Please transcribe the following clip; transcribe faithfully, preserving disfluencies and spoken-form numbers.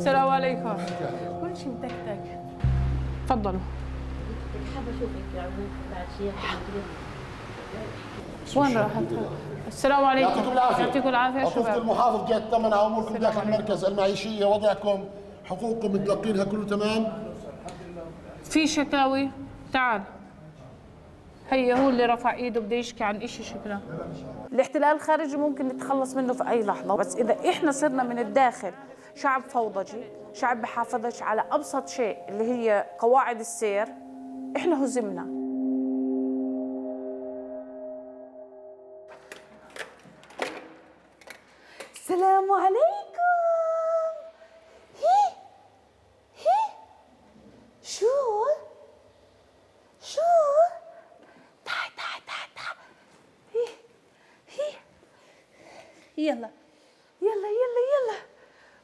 السلام عليكم. كل شيء متكتك. تفضلوا. حابة أشوفك بعد شيء. وين راحت؟ السلام عليكم. يعطيكم العافية. يعطيكم العافية شباب. شباب. المحافظ جهة ثمنها أموركم داخل المركز المعيشية، وضعكم، حقوقكم متلقينها كله تمام؟ في شكاوي؟ تعال. هي هو اللي رفع ايده بده يشكي عن شيء شكله. الاحتلال الخارجي ممكن نتخلص منه في اي لحظه، بس اذا احنا صرنا من الداخل شعب فوضجي، شعب بحافظش على ابسط شيء اللي هي قواعد السير، احنا هزمنا. السلام عليكم. هي هي شو شو تعي تعي تعي تعي. هي هي يلا يلا يلا